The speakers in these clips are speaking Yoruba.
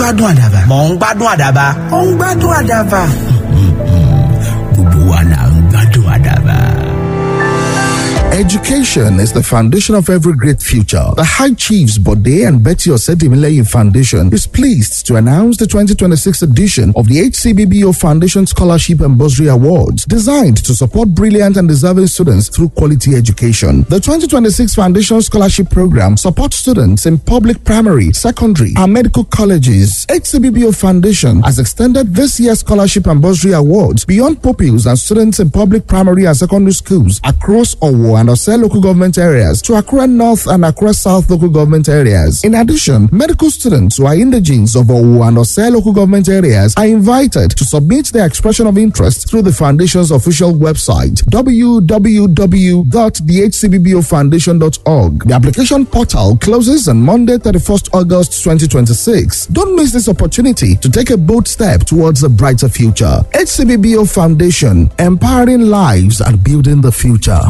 Gbádùn àdàbà. Mò ń gbádùn àdàbà. Ó ń gbádùn àdàbà. Gbogbo wa là ń gbádùn àdàbà. Education is the foundation of every great future. The High Chiefs Bode and Betty Osedimileyin Foundation is pleased to announce the 2026 edition of the HCBBO Foundation Scholarship and Bursary Awards, designed to support brilliant and deserving students through quality education. The 2026 Foundation Scholarship Program supports students in public primary, secondary, and medical colleges. HCBBO Foundation has extended this year's scholarship and bursary awards beyond pupils and students in public primary and secondary schools across Owo and Ose local government areas to Accra North and Accra South local government areas. In addition, medical students who are indigenes of Owo and Ose local government areas are invited to submit their expression of interest through the foundation's official website www.thehcbbofoundation.org. The application portal closes on Monday, 31st August 2026. Don't miss this opportunity to take a bold step towards a brighter future. HCBBO Foundation, empowering lives and building the future.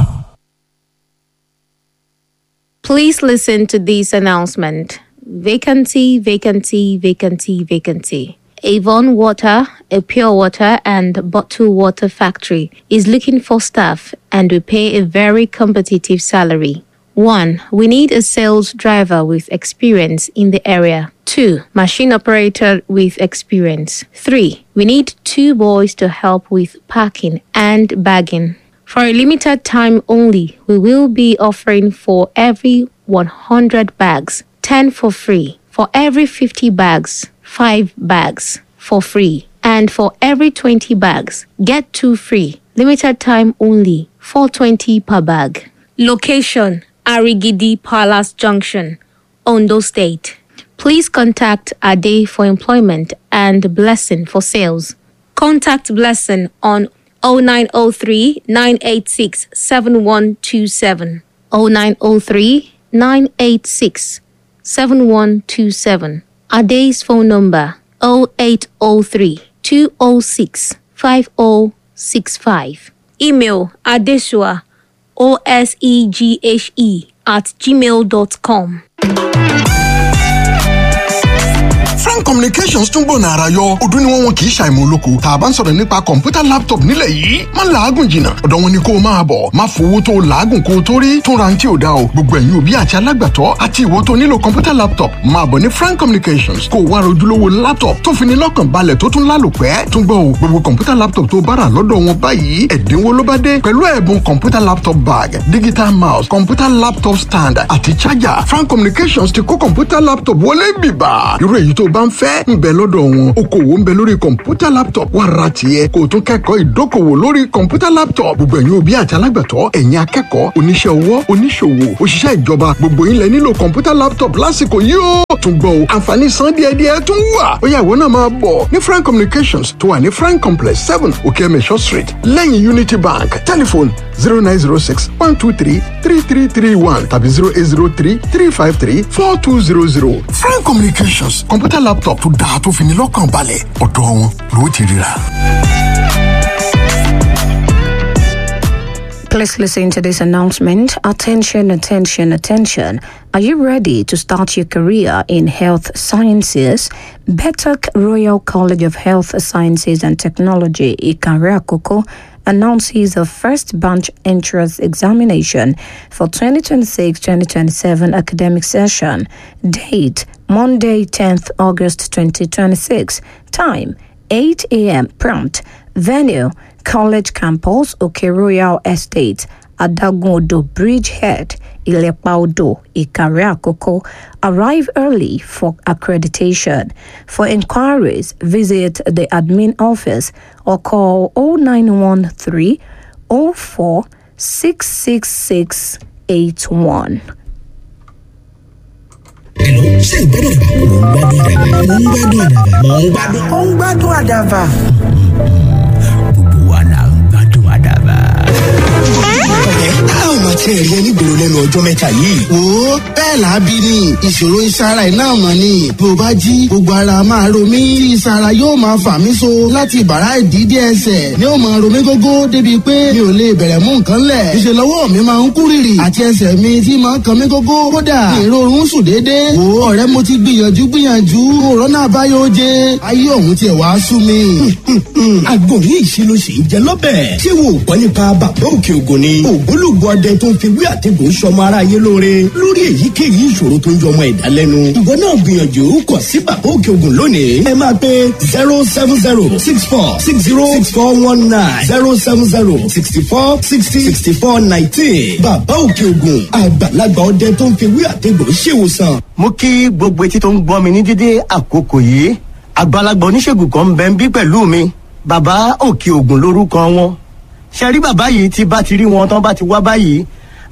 Please listen to this announcement. Vacancy, vacancy, vacancy, vacancy. Avon Water, a pure water and bottled water factory, is looking for staff and we pay a very competitive salary. 1. We need a sales driver with experience in the area. 2. Machine operator with experience. 3. We need two boys to help with packing and bagging. For a limited time only, we will be offering for every 100 bags, 10 for free. For every 50 bags, 5 bags for free. And for every 20 bags, get 2 free. Limited time only, 420 per bag. Location Arigidi Palace Junction, Ondo State. Please contact Ade for employment and Blessing for sales. Contact Blessing on 0903 986 7127. 0903 986 7127. Ade's phone number 0803 206 5065. Email adesua oseghe at gmail.com. Frank Communications tún gbòòna ara yọ ọdún ni wọ́n wọn kì í ṣàìmọ̀ olóko tá a bá ń sọ̀rọ̀ nípa kọ̀ǹpútà laptop nílẹ̀ yìí má làágùn jìnnà ọ̀dọ̀ wọn ni kó o máa bọ̀. Má fowó tó o làágùn kó o tó rí tún ra ti ò dá o. Gbogbo ẹ̀yin òbí àti alágbàtọ́ àti ìwọ tó nílò kọ̀ǹpútà laptop, máa bọ̀ ní Frank Communications kó o wá rojúlówó laptop tó fi ní lọ́kàn balẹ̀ tó tún lálòpẹ́. Tún gbọ́ o, gbogbo kọ̀ǹpútà laptop tó bára lọ́dọ̀ wọn báyìí, ẹ̀dínwó ló bá dé pẹ̀lú ẹ̀bùn kọ̀ǹpútà laptop bag, digital mouse, kọ̀ǹpútà laptop stand àti charger. Frank Communications ti kó kọ̀ǹpútà laptop wọlé bìbà. Irú èyí tó bá ń fẹ́ ń bẹ lọ́dọ̀ wọn. Okòwò ń bẹ lórí kọ̀ǹpútà laptop, wà ra tiẹ̀ kó o tún kẹ́kọ̀ọ́ ìdókòwò lórí kọ̀ǹpútà laptop. Gbogbo ẹ̀yin òbí àti alágbàtọ́, ẹ̀yin akẹ́kọ̀ọ́, oníṣẹ́ ọwọ́, oníṣòwò, òṣìṣẹ́ ìjọba, gbogbo yín lẹ nílò kọ̀ǹpútà laptop lásìkò yìí ó. Tún gbọ́ o, àǹfààní san díẹ̀díẹ̀ tún wà. Ó yá, ìwọ náà máa bọ̀ ní Frank Communications tó wà ní Frank Complex 7, Okeemesho Street, lẹ́yìn Unity Bank. Telephone 0906 123 3331 tàbí 0803 353 4200. Frank Communications, kọ̀ǹpútà laptop tó dáa tó fi ní lọ́kàn balẹ̀, ọ̀dọ̀ wọn ló ti ríra. Please listen to this announcement. Attention, attention, attention. Are you ready to start your career in health sciences? Betok Royal College of Health Sciences and Technology, Ikare Akoko, announces the first bunch entrance examination for 2026-2027 academic session. Date, Monday, 10th August 2026. Time, 8 a.m. prompt. Venue, College Campus, Oke Royal Estate, Adagun-Odo Bridgehead, Ilepa-Odo, Ikare Akoko. Arrive early for accreditation. For inquiries, visit the admin office or call 0913 04 666 81. Hello, ṣé ìgbádùn àdàbà? Mò ń gbádùn àdàbà. Mò ń gbádùn àdàbà. Ó ń gbádùn àdàbà. Gbogbo wa là ń gbádùn àdàbà. Ọ̀rẹ́, a ò ò máa tiẹ̀ rí ẹ nígboro lẹ́nu ọjọ́ mẹ́ta yìí. Wo, bẹ́ẹ̀ làábí ni ìṣòro ìsara iná mọ̀ ni. Bí o bá jí, gbogbo ara máa ro mí. Tí ìsara yóò máa fà mí so láti bàrá ìdí dé ẹsẹ̀ ni ó máa ro mí gógó débi pé mi ò lè bẹ̀rẹ̀ mú nǹkan lẹ̀. Ìṣe lọ́wọ́ mi máa ń kú rìrì àti ẹsẹ̀ mi tí máa ń kan mí gógó. Kódà ìrorun sùn déédéé. Wo ọ̀rẹ́, mo ti gbìyànjú gbìyànjú. Kòrónà báyọ̀ jẹ. Ayé òun tiẹ̀ wá sú mi. Àgbo ní ìṣirò sì ń jẹ lọ́bẹ̀. Ṣé wo ò gbọ́ nípa bàbá òkè ògùn ni? Ògbólógbò ọdẹ tó ń fi wí àtẹ̀gùn sọmọ ara yé lóore lórí èyíkéyìí ìṣòro tó ń jọmọ ẹ̀dá lẹ́nu. Ìwọ náà gbìyànjú kàn sí bàbá òkè ògùn lónìí. Ẹ máa pe 07064606419, 07064606419. Bàbá òkè ògùn, àgbàlagbà ọdẹ tó ń fi wí àtẹ̀gùn ṣèwòsàn. Mo kí gbogbo etí tó ń gbọ́ mi ní dédé àkókò yìí. Àgbàlagbà oníṣègùn kan ń bẹ ń bí pẹ̀lú mi, bàbá òkè ògùn lórúkọ wọn. Ṣe rí bàbá yìí, tí bá ti rí wọn tán bá ti wá báyìí,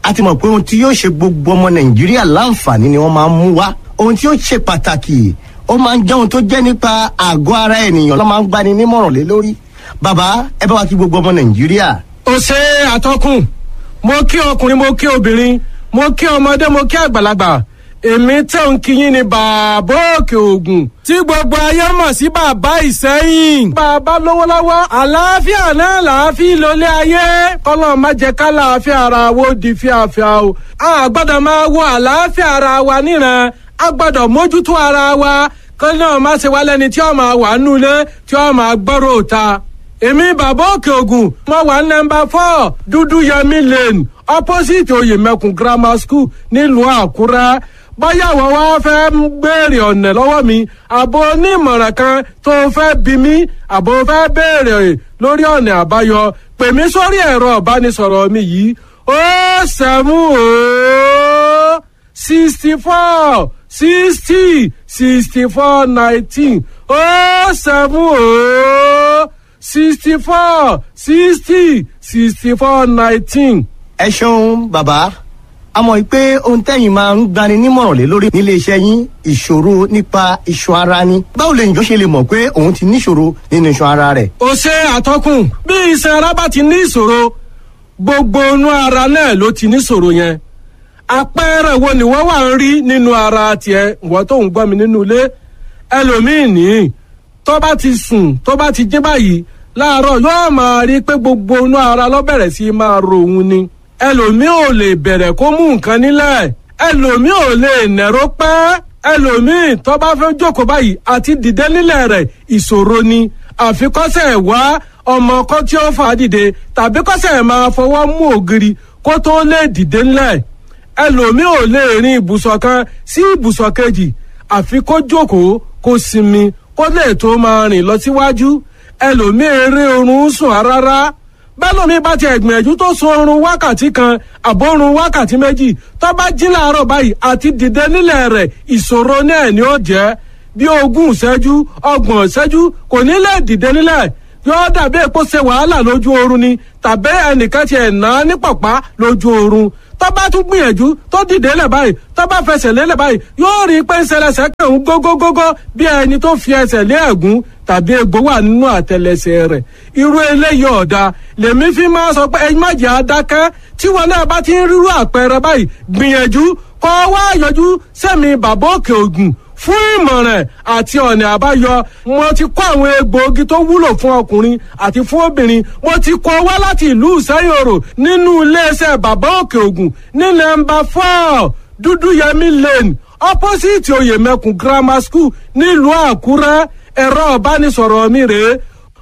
a ti mọ̀ pé ohun tí yóò ṣe gbogbo ọmọ Nàìjíríà láǹfààní ni wọ́n máa ń mú wá. Ohun tí yóò ṣe pàtàkì, ó máa ń jẹ́ ohun tó jẹ́ nípa àgọ́ ara ènìyàn ló máa ń gbani nímọ̀ràn lé lórí. Bàbá, ẹ bá wa kí gbogbo ọmọ Nàìjíríà. Ó ṣe àtọkùn. Mo kí ọkùnrin, mo kí obìnrin, mo kí ọmọdé, mo kí àgbàlagbà. Èmi tẹ̀ ń kíyìn ní bàbá òkè ògùn tí gbogbo ayé mọ̀ sí bàbá Ìsẹ́yìn. Bàbá lówó lọ́wọ́, àlàáfíà náà làáfíà lólé ayé. Kọ́lọ́ má jẹ́ ká làáfíà ara wo di fíafíà o. A gbọ́dọ̀ máa wo àlàáfíà ara wa níran, a gbọ́dọ̀ mójútó ara wa, kọ́ náà má ṣe wá lẹ́ni tí ó máa wà nulẹ̀ tí ó máa gbọ́rọ̀ òta. Èmi bàbá òkè ògùn, mo wà ní nọ́mbà 4 Dúdú Yẹmí Lane, opposite Oyèmẹkùn Grammar School, nílùú Àkúrẹ́. Báyà wọ́n wá fẹ́ ń béèrè ọ̀nà lọ́wọ́ mi, àbò onímọ̀ràn kan tó fẹ́ bí mi, àbò fẹ́ béèrè lórí ọ̀nà àbáyọ, pè mí sórí ẹ̀rọ ìbánisọ̀rọ̀ mi yìí: 070 64 60 64 19, 070 64 60 64 19. Ẹ ṣeun bàbá. A mọ̀ pé ohun tẹ́yìn máa ń gbani nímọ̀ràn lé lórí nílé iṣẹ́ yín, ìṣòro nípa iṣan ara ni. Báwo lè yàn ṣe lè mọ̀ pé òun ti níṣòro nínú iṣan ara rẹ̀? Ó ṣe àtọkùn. Bí iṣan ara bá ti ní ìṣòro, gbogbo inú ara náà ló ti níṣòro yẹn. Àpẹẹrẹ wo ni wọ́n wà ń rí nínú ara tiẹ̀, ìwọ tó ń gbọ́ mi nínú ilé? Ẹlòmíì ní tó bá ti sùn, tó bá ti jí báyìí láàárọ̀, yóò máa rí pé gbogbo inú ara ló bẹ̀rẹ̀ sí máa ro òun ni. Ẹlòmíì ò lè bẹ̀rẹ̀ kó mú nǹkan nílẹ̀, ẹlòmíì ò lè nẹ̀rọ pẹ́, ẹlòmíì tó bá fẹ́ jókòó báyìí àti dìde nílẹ̀ rẹ̀ ìṣòro ni. Àfikọ́sẹ̀ wá ọmọ kọ́ tí ó fà á dìde tàbí kọ́sẹ̀ máa fọwọ́ mú ògiri kó tó lè dìde nílẹ̀. Ẹlòmíì ò lè rin ibùsọ̀ kan sí ibùsọ̀ kejì, àfi kó jókòó, kó sinmi, kó lè tó máa rìn lọ síwájú. Ẹlòmíì eré oorun sùn rárá. Bẹ́lòmíì bá ti ẹ̀gbìyànjú tó sun oorun wákàtí kan àbórun wákàtí 2, tó bá jí láàárọ̀ báyìí àti dìde nílẹ̀ rẹ̀ ìṣòro náà ni ó jẹ́. Bí 20 ìṣẹ́jú, 30 ìṣẹ́jú, kò ní lè dìde nílẹ̀. Yóò dàbí èpo ṣe wàhálà lójú oorun ni, tàbí ẹnìkan ti ẹ̀ ná ní pọ̀pá lójú oorun. Tó bá tún gbìyànjú tó dìde lẹ̀ báyìí, tó bá fẹsẹ̀ lélẹ̀ báyìí, yóò rí i pé ń ṣẹlẹ̀ṣẹ̀ kàn ń gógógógó, bí ẹni tó fi ẹsẹ̀ lé ẹ̀gún tàbí egbò wà nínú àtẹlẹsẹ̀ rẹ̀. Irú eléyìí ọ̀dà lèmi fi máa sọ pé ẹ má jẹ́ adákẹ́. Tí wọn náà bá ti ń rírú àpẹẹrẹ báyìí, gbìyànjú kọ́ wá yọjú sẹ́mi bàbá òkè ògùn fún ìmọ̀ràn àti ọ̀nà àbáyọ. Mo ti kó àwọn egbòogi tó wúlò fún ọkùnrin àti fún obìnrin, mo ti kó wá láti ìlú Ìsẹ́yòrò nínú iléeṣẹ́ bàbá òkè ògùn ní nọ́mbà 4 Dúdúyẹmí Lane, opposite Oyèmẹkùn Grammar School, nílùú Àkúrẹ́. Ẹ̀rọ ìbánisọ̀rọ̀ mi rèé: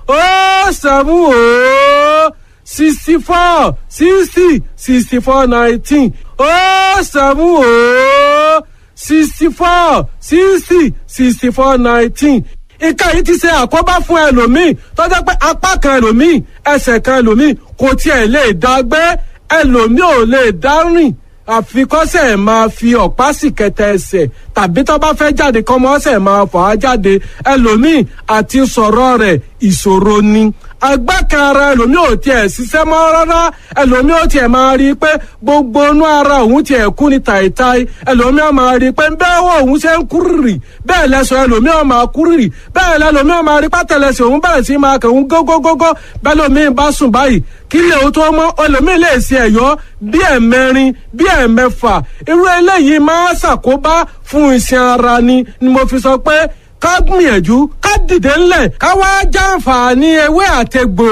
070 64 60 64 19, 070 64 60 64 19. Ìka yìí ti ṣe àkóbá fún ẹlòmíì tó jẹ́ pé apá kan ẹlòmíì, ẹsẹ̀ kan ẹlòmíì kò tiẹ̀ lè dá gbé, ẹlòmíì ò lè dá rìn, àfikọ́sẹ̀ máa fi ọ̀pá sì kẹta ẹsẹ̀. tàbí tó bá fẹ́ jáde kọ́mọ ọ̀sẹ̀ máa fà á jáde. Ẹlòmíì àti sọ̀rọ̀ rẹ̀ ìṣòro ni. Agbá kan ara ẹlòmíì ò tiẹ̀ ṣiṣẹ́ mọ́ rárá. Ẹlòmíì ò tiẹ̀ máa rí i pé gbogbo inú ara òun tiẹ̀ kú ni tàìtàì. Ẹlòmíì ò máa rí i pé bẹ́ẹ̀ wọ òun ṣe ń kúrìrì, bẹ́ẹ̀ lẹ́sọ̀ ẹlòmíì ò máa kúrìrì, bẹ́ẹ̀ lẹ́lòmíì ò máa rí pátẹ́lẹsẹ̀ òun bẹ̀rẹ̀ sí máa kẹ̀hún gógógógó. Bẹ́ẹ̀ lòmíì bá sùn báyìí, kí lè o tó mọ́, ẹlòmíì lè ṣe ẹ̀yọ́ bí ẹ̀mẹrin, bí ẹ̀mẹfà. Irú eléyìí máa ṣàkóbá fún iṣan ara ni ni mo fi sọ pé ká gbìyànjú ká dìde ńlẹ̀, ká wá jàǹfààní ewé àtegbò,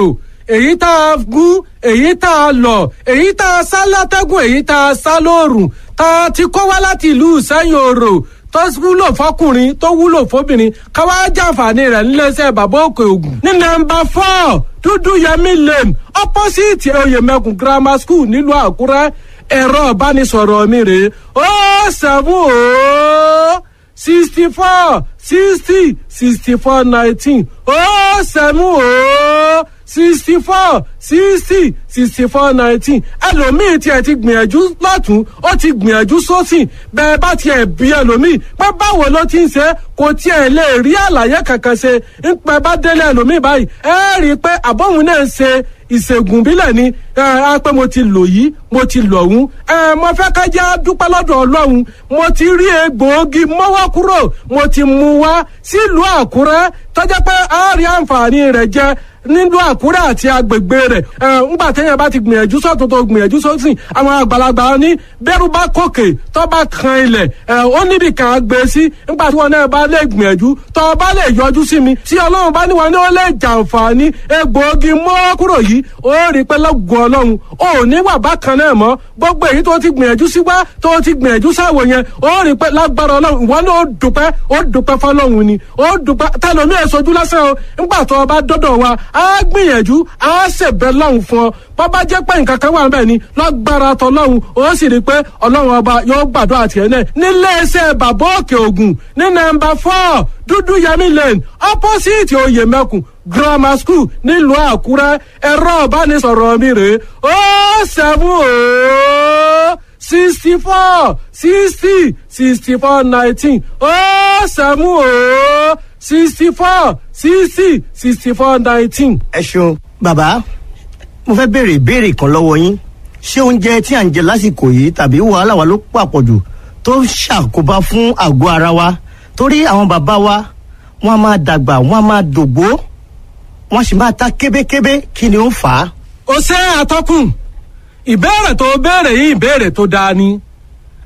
èyí tá a gún, èyí tá a lọ, èyí tá a sá látẹ́gùn, èyí tá a sá lóòrùn, tá a ti kó wá láti ìlú Ìsẹ́yìn Òrò, tó wúlò fọkùnrin, tó wúlò fóbìnrin, ká wá jàǹfààní rẹ̀ níléeṣẹ́ Bàbá Òkè Ògùn. Ní nọ́mbà 4 Dúdú Yẹmí Lane, opposite Oyèmẹkùn Grammar School, nílùú Àkúrẹ́. Ẹ̀rọ ìbánisọ̀rọ̀ mi rèé: 070 64 60 64 19, 070 64 60 64 19. Ẹlòmíì tiẹ̀ ti gbìyànjú lọ́tún, ó ti gbìyànjú sósì. Bẹ́ẹ̀ bá tiẹ̀ bí ẹlòmíì pé báwo ló ti ń ṣe, kò tiẹ̀ lè rí àlàyé kankan ṣe. Ń pẹ́ bá délé ẹlòmíì báyìí, ẹ rí i pé àbọ̀hún náà ń ṣe ìṣègùn bílẹ̀ ni. Ẹ á pé mo ti lò yìí, mo ti lò ọ̀hún. Ẹ mo fẹ́ ká jẹ́ dúpẹ́ lọ́dọ̀ Ọlọ́run. Mo ti rí egbòogi mọ́wọ́ kúrò, mo ti mú wá sílùú Àkúrẹ́, tọ́jà pé a rí àǹfààní rẹ̀ jẹ nílùú Àkúrẹ́ àti agbègbè rẹ̀. Ẹ ńgbà téèyàn bá ti gbìyànjú sọ́tún tó gbìyànjú sósì, àwọn àgbàlagbà ní bẹ́rù bá kòkè tó bá kan ilẹ̀, ẹ ó níbi kan á gbé sí. Ńgbà tí wọn náà bá lè gbìyànjú, tó bá lè yọjú sí mi, tí Ọlọ́run bá ní wọn ní ó lè jàǹfààní egbòogi mọ́wọ́ kúrò yìí, ó rí pé lọ́gùn Ọlọ́run ò ní wà bákan náà mọ́. Gbogbo èyí tó ti gbìyànjú sí wá, tó ti gbìyànjú sáwọ yẹn, ó rí pé lágbára Ọlọ́run ìwọ náà ó dúpẹ́, ó dúpẹ́ fọlọ́run ni, ó dúpẹ́. Tẹlomi ẹ̀ sojú lásán o. Ńgbà tó o bá dọ́dọ̀ wa, á gbìyànjú, á ṣèbẹ̀ lọ́hùn fún ọ. Bọ́bá jẹ́ pé nǹkan kan wà níbẹ̀ ni, lágbára tọlọ́hun, ó sì rí pé Ọlọ́run ọba yóò gbàdúrà tiẹ̀ náà. Nílé iṣẹ́ Bàbá Òkè Ògùn ní nọ́mbà 4 Dúdú Yẹmí Lane, opposite Oyèmẹkùn Grammar School, nílùú Àkúrẹ́. Ẹ̀rọ ìbánisọ̀rọ̀ mi rèé: 070 64 60 64 19, 070 64 60 64 19. Ẹ ṣeun bàbá. Mo fẹ́ béèrè ìbéèrè kan lọ́wọ́ yín. Ṣé oúnjẹ tí à ń jẹ lásìkò yìí tàbí wàhálà wa ló pàpọ̀jù tó ń ṣàkóbá fún àgọ́ ara wa? Torí àwọn bàbá wa, wọ́n á máa dàgbà, wọ́n á máa dògbó, wọ́n sì máa ta kébékébé. Kí ni ó ń fà á? Ó ṣe, àtọkùn. Ìbéèrè tó béèrè yìí, ìbéèrè tó dáa ni.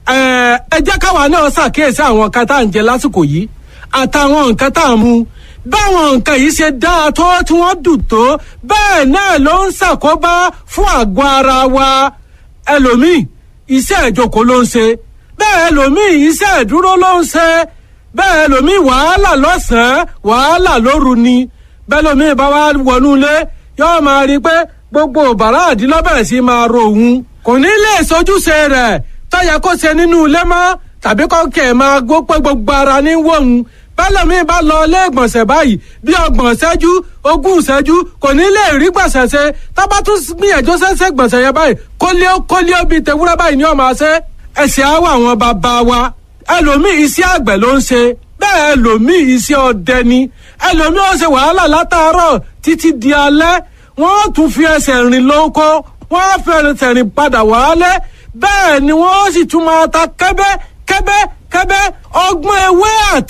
Ẹ jẹ́ káwa náà ṣàkíyèsí àwọn nǹkan tá à ń jẹ lásìkò yìí àtàwọn nǹkan tá à ń mu. Báwọn nǹkan yìí ṣe dáa tó, tí wọ́n dùn tó, bẹ́ẹ̀ náà ló ń ṣàkóbá fún àgọ́ ara wa. Ẹlòmíì, iṣẹ́ ìjókòó ló ń ṣe. Bẹ́ẹ̀ ẹlòmíì, iṣẹ́ ìdúró ló ń ṣe. Bẹ́ẹ̀ ẹlòmíì, wàhálà lọ́sàn-án, wàhálà lóru ni. Bẹ́ẹ̀ ẹlòmíì bá wá wọnú ilé, yóò máa rí i pé gbogbo bàrá àdínlọ́bẹ̀rẹ̀ sí máa ro òun, kò ní lè sojúṣe rẹ̀ tọ́yẹ kó ṣe nínú ilé mọ́, tàbí kọ́ kẹ̀ máa gbó pé gbogbo ara ní wọ̀hún. Bẹ́lẹ̀mí bá lọ ilé ìgbọ̀nsẹ̀ báyìí, bí 30 ìṣẹ́jú, 20 ìṣẹ́jú, kò ní lè rí gbọ̀nsẹ̀ ṣe. Tábà tún gbìyànjú ṣẹ́ṣẹ́ gbọ̀nsẹ̀ yẹn báyìí, kólé kólé bíi tewúrẹ́ báyìí ni ó máa ṣe. Ẹ̀sìn àwọ̀ àwọn bàbá wa, ẹlòmíì iṣẹ́ àgbẹ̀ ló ń ṣe, bẹ́ẹ̀ ẹlòmíì iṣẹ́ ọdẹ ni. Ẹlòmíì ó ṣe wàhálà látàárọ̀ títí di alẹ́, wọ́n tún fi ẹsẹ̀ rìn lóko, wọ́n fi ẹsẹ̀ rìn padà wálé. Bẹ́ẹ̀ ni wọ́n sì tún máa ta kẹ́bẹ́ kẹ́bẹ́ kẹ́bẹ́ ọgbọ́n ewé àti.